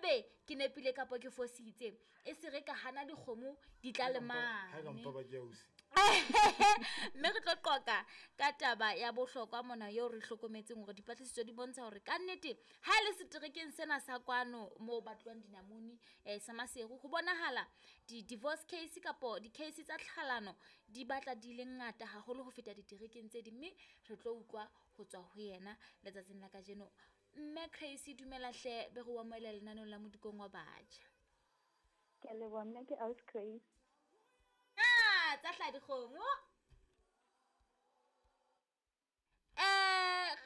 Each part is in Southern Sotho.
ebe ke nepile kapo ke fositse e se re ka hana dikgomo di tla le Ha ka mane. mpa ba ke ausi. Mme re tlo qoqa ka taba ya bohlokwa mona eo re hlokometseng hore dipatlisiso di bontsha hore kannete ha e le seterekeng sena sa kwano moo batluwang dinamune sa Maseru, ho bonahala di-divorce case kapo di-case tsa tlhalano di batla di le ngata haholo ho feta diterekeng tse ding. Mme re tlo utlwa ho tswa ho yena letsatsing la kajeno. Mme Crazy, dumela hle, be re o amohela lenaneong la Modikong wa Batjha. Ke a leboha, nna ke Aus Grace. Ah, tsa hlaha dikgomo.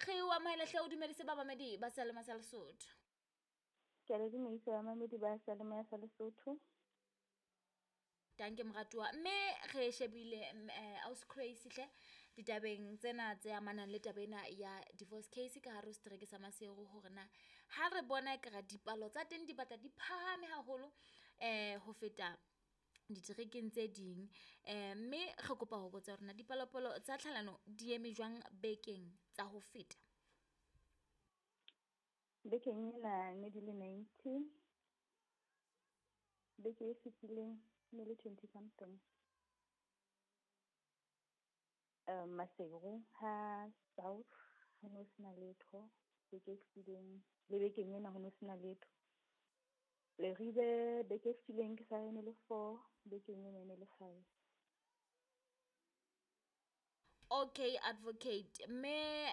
Re o amohela hle, o dumedise bamamedi ba Seyalemoya sa Lesotho. Ke a le dumedisa bamamedi ba Seyalemoya sa Lesotho. Danke moratuwa. Mme re shebile Aus Grace hle ditabeng tsena tse amanang le taba ena ya divorce case ka hare ho setereke sa Maseru, hore na ha re bona ekare dipalo tsa teng di batla di phahame haholo ho feta diterekeng tse ding. Mme re kopa ho botsa hore na dipalopalo tsa tlhalano di eme jwang bekeng tsa ho feta? Bekeng ena ne di le 90. Beke e fetileng ne le 20 something. Maseru ha South ho no sena letho beke e fetileng, le bekeng ena ho no sena letho. Leribe beke e fetileng ke sa re ne le 4, bekeng ena e ne le 5. Okay, advocate. Mme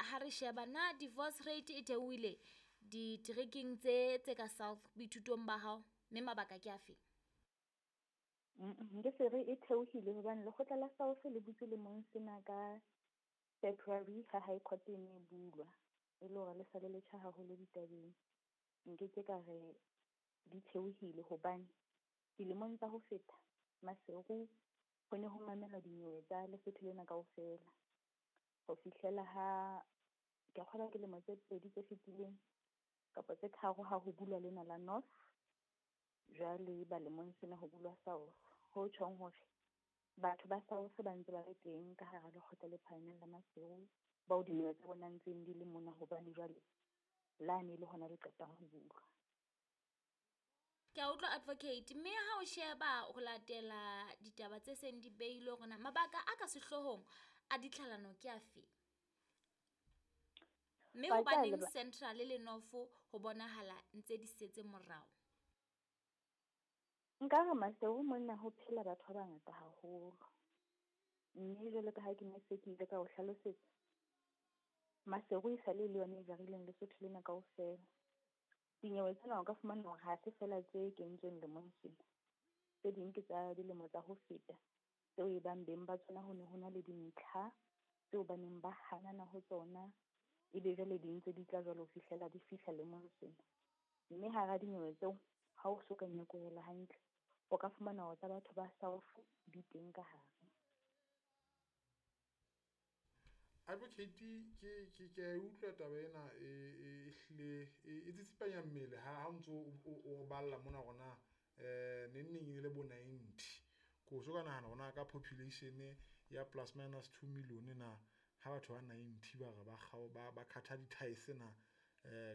ha re sheba na divorce rate e theohile diterekeng tse ka South boithutong ba hao, mme mabaka ke afe? Nke se re e theohile hobane lekgotla la South le butse lemong sena ka February ha High Court e ne e bulwa, e le hore le sa le letjha haholo ditabeng. Nkeke ka re di theohile hobane dilemong tsa ho feta Maseru ho ne ho mamelwa dinyewe tsa Lesotho lena kaofela. Ho fihlela ha ke kgolwa ke lemo tse 2 tse fetileng kapa tse 3 ha ho bulwa lena la North, jwale ba lemong sena ho bulwa South. Ho tjhong hore batho ba South ba ntse ba le teng ka hara lekgotla le phahameng la Maseru, bao dinyewe tsa bona ntseng di le mona hobane jwale lane le hona le qetang ho bulwa. Ke a utlwa advocate, mme ha o sheba ho latela ditaba tse seng di beilwe hore na mabaka a ka sehloohong a ditlhalano ke afe? Mme hobaneng Central le North ho bonahala ntse di setse morao? Nka re Maseru mona ho phela batho ba bangata haholo. Mme jwalo ka ha ke ne se ke ile ka o hlalosetsa, Maseru e sale le yona e jarileng Lesotho lena kaofela. Dinyewe tsena o ka fumana hore ha se fela tse kentsweng lemong sena. Tse ding ke tsa dilemo tsa ho feta, tseo e bang beng ba tsona ho ne ho na le dintlha tseo ba neng ba hanana ho tsona, ebe jwale di ntse di tla jwalo ho fihlela di fihla lemong sena. Mme hara dinyewe tseo, ha o so ka nyokohela hantle, o ka fumana hore tsa batho ba South di teng ka hare. Advocate, ke a e utlwa taba ena e hlile e tsitsipanya mmele ha o ntso o balla mona hore na neng neng e le bo 90. Ko so ka nahana hore na ka population ya plus minus 2 million na ha batho ba 90 ba re ba ba khatha di-ties na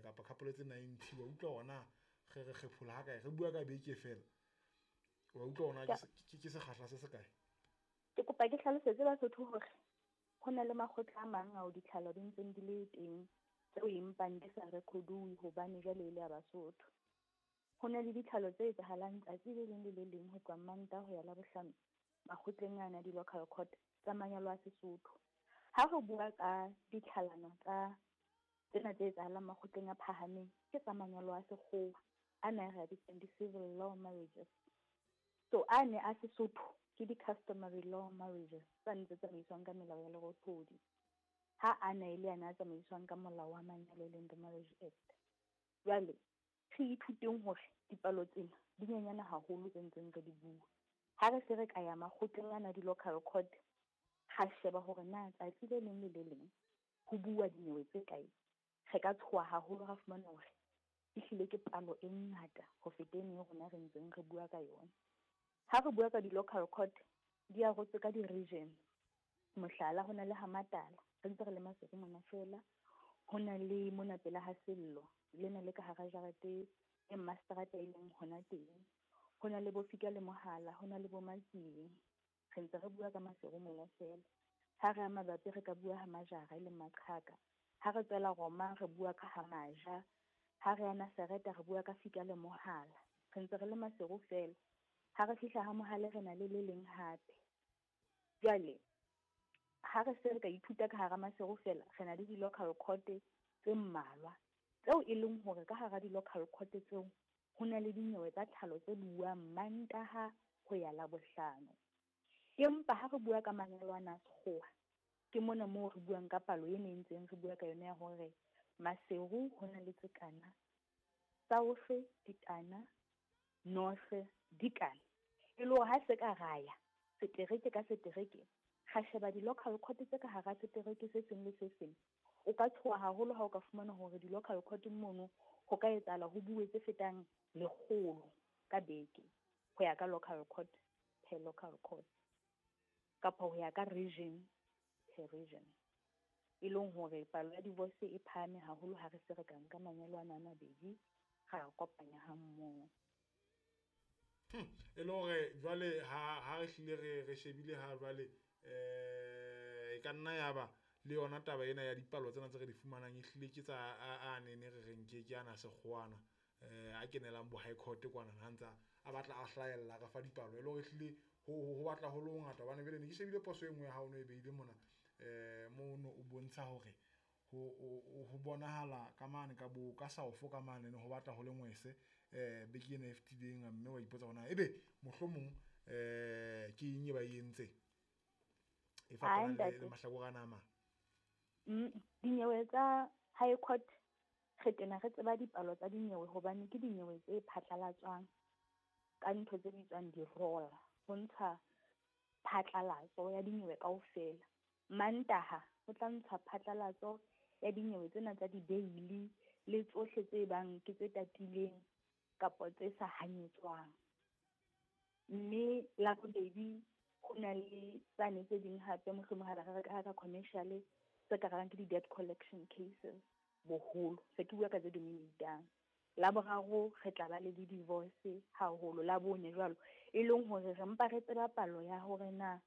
kapa couple tse 90, wa utlwa hore na re re kgephola ha kae, re bua ka beke fela. Wa utlwa hore na ke sekgahla se se kae? Ke kopa ke hlalosetse Basotho hore ho na le makgotla a mang ao ditlhalo di ntseng di le teng tseo empang di sa rekoduwe hobane jwale e le ya Basotho. Ho na le ditlhalo tse etsahalang tsatsi le leng le le leng ho tloha Mantaha ho ya Labohlano makgotleng ana a di-local court tsa manyalo a Sesotho. Ha re bua ka ditlhalano tsa tsena tse etsahalang makgotleng a phahameng, ke tsa manyalo a sekgowa ana re a bitsang di-civil law marriages. So a ne a Sesotho ke di-customary law marriages tsa ntse tsamaiswang ka melao ya lerothodi. Ha a na e le ana a tsamaiswang ka molao wa manyalo e leng the Marriage Act. Jwale re ithuteng hore dipalo tsena di nyenyane haholo tse ntseng re di bua. Ha re se re ka ya makgotleng ana di-local court, ra sheba hore na tsatsi le leng le le leng ho bua dinyewe tse kae, re ka tshoha haholo ra fumana hore ehlile ke palo e ngata ho feta eno e rona re ntseng re bua ka yona. Ha re bua ka di-local court, di arotswe ka di-region. Mohlala, ho na le ha Matala, re ntse re le Maseru mona fela, ho na le mona pela ha Sello, lena le ka hara jarete e mmaseterata e leng hona teng. Ho na le bo Fika le Mohala, ho na le bo Matsieng. Re ntse re bua ka Maseru mona feela. Ha re ya mabapi re ka bua ha Majara e leng Maqhaka. Ha re tswela Roma re bua ka ha Maja. Ha re ya Nasereta re bua ka Fika le Mohala. Re ntse re le Maseru feela. Ha re fihla ha Mohale re na le le leng hape. Jwale ha re se re ka ithuta ka hara Maseru feela, re na le di-local court tse mmalwa tseo e leng hore ka hara di-local court tseo ho na le dinyewe tsa tlhalo tse buang Mantaha ho ya Labohlano. Empa ha re bua ka manyalo ana a sekgowa, ke mona moo re buang ka palo ena e ntseng re bua ka yona ya hore Maseru ho na le tse kana, South di kana, North di kana. E le hore ha se ka ra ya setereke ka setereke, ra sheba di-local court tse ka hara setereke se seng le se seng, o ka tshoha haholo ha o ka fumana hore di-local court mono ho ka etsahala ho bue tse fetang 100 ka beke ho ya ka local court per local court, kapa ho ya ka region per region. E leng hore palo ya divorce e phahame haholo ha re se re ka nka manyalo ana a mabedi ra kopanya ha mmoho. E le hore jwale ha re hlile re shebile ha jwale e ka nna ya ba le yona taba ena ya dipalo tsena tse re di fumanang e hlile ke tsa a nene re reng ke ana sekgowana a kenelang bo high court kwana ha ntsa a batla a hlahella re fa dipalo e le hore hlile ho batla ho le hongata. Hobane jwale ne ke shebile poso e nngwe ya hao no e beile mona mono o bontsha hore ho bonahala ka mane ka bo ka South ka mane ho batla ho le ngwese beke ena e fetileng, mme wa ipotsa hore na ebe mohlomong ke eng e ba e entseng e fapanang le mahlakore ana a mang. Dinyewe tsa high court re tena re tseba dipalo tsa dinyewe hobane ke dinyewe tse phatlalatswang ka ntho tse bitswang di-roll, ho ntsha phatlalatso ya dinyewe kaofela. Mantaha ho tla ntsha phatlalatso ya dinyewe tsena tsa di-bail le tsohle tse bang ke tse tatileng kapa tse sa hanyetswang. Mme Labobedi ho na le tsane tse ding hape mohlomong ha re ka commercial tse ka rang ke di-debt collection cases boholo, se ke bua ka tse dominatang. Laboraro re tla ba le di-divorce haholo, Labone jwalo, e leng hore re mpa re tseba palo ya hore na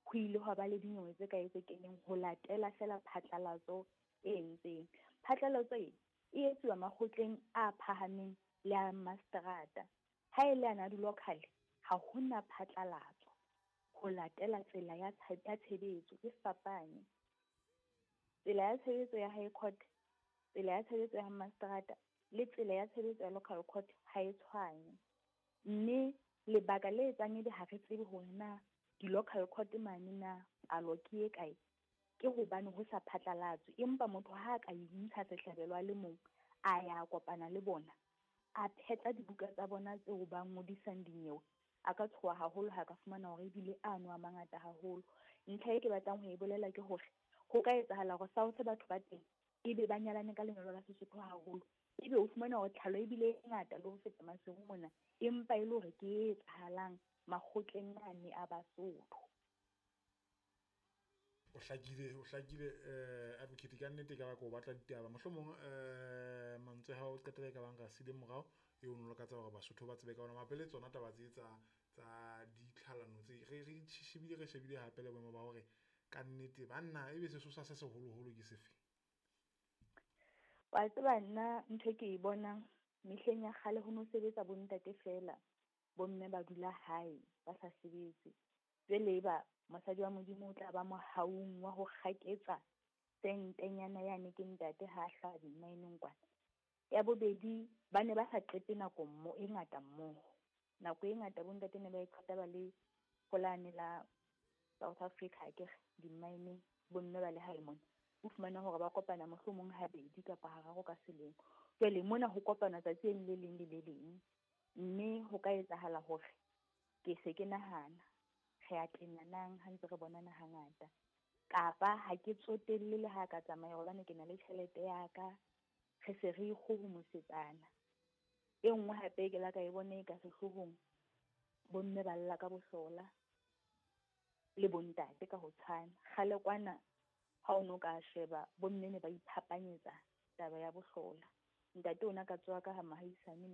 ho ile hwa ba le dinyewe tse kae tse keneng ho latela feela phatlalatso e entseng. Phatlalatso e etsuwa makgotleng a phahameng le a maseterata. Ha e le ana di-local ha hona phatlalatso ho latela tsela ya tshebetso e fapane. Tsela ya tshebetso ya high court, tsela ya tshebetso ya maseterata le tsela ya tshebetso ya local court ha e tshwane. Mme lebaka le etsang ebe ha re tsebe hore na di-local court mane na palo ke e kae, ke hobane ho sa phatlalatswe. Empa motho ha a ka intsha sehlabelo a le mong, a ya kopana le bona, a phetla dibuka tsa bona tseo ba ngodisang dinyewe, a ka tshoha haholo ha ka fumana hore ebile ano a mangata haholo. Ntlha e ke batlang ho e bolela ke hore ho ka etsahala hore South batho ba teng ebe ba nyalane ka lenyalo la Sesotho haholo, ebe o fumana hore tlhalo ebile e ngata le ho feta Maseru mona, empa e le hore ke e etsahalang makgotleng ane a Basotho. O hlakile advocate ka nnete ka ba ko batla ditaba mohlomong mantswe ha o qetela ka bang ka sile morao e o nlokatsa hore Basotho ba tsebe ka ona mapele tsona taba tse tsa ditlhalano tse re shebile hape le boemo ba hore ka nnete banna ebe sesosa se seholoholo ke sefe. Wa tseba nna ntho ke e bonang mehleng ya kgale ho no sebetsa bontate feela, bomme ba dula hae ba sa sebetse. Jwale eba mosadi wa Modimo o tla ba mohaung wa ho kgaketsa sentenyana yane ke ntate ha hlaha di-mine-eng kwana. Ya bobedi, ba ne ba sa qete nako e ngata mmoho. Nako e ngata bontate ne ba e qeta ba le holane la South Africa akere di-mine-eng, bomme ba le hae mona. O fumana hore ba kopana mohlomong habedi kapa hararo ka selemo. Jwale mona ho kopana tsatsi le leng le le leng, mme ho ka etsahala hore ke se ke nahana re a tenanang ha ntse re bonana hangata, kapa ha ke tsotelle le ha ka tsamaya hobane ke na le tjhelete ya ka, re se re ikgohomosetsana. E nngwe hape ke la ka e bone ka sehloohong, bomme ba lla ka bohlola le bontate ka ho tshwana. Kgale kwana ha o no ka sheba bomme ne ba iphapanyetsa taba ya bohlola. Ntate ona ka tswa ka ha mohaisane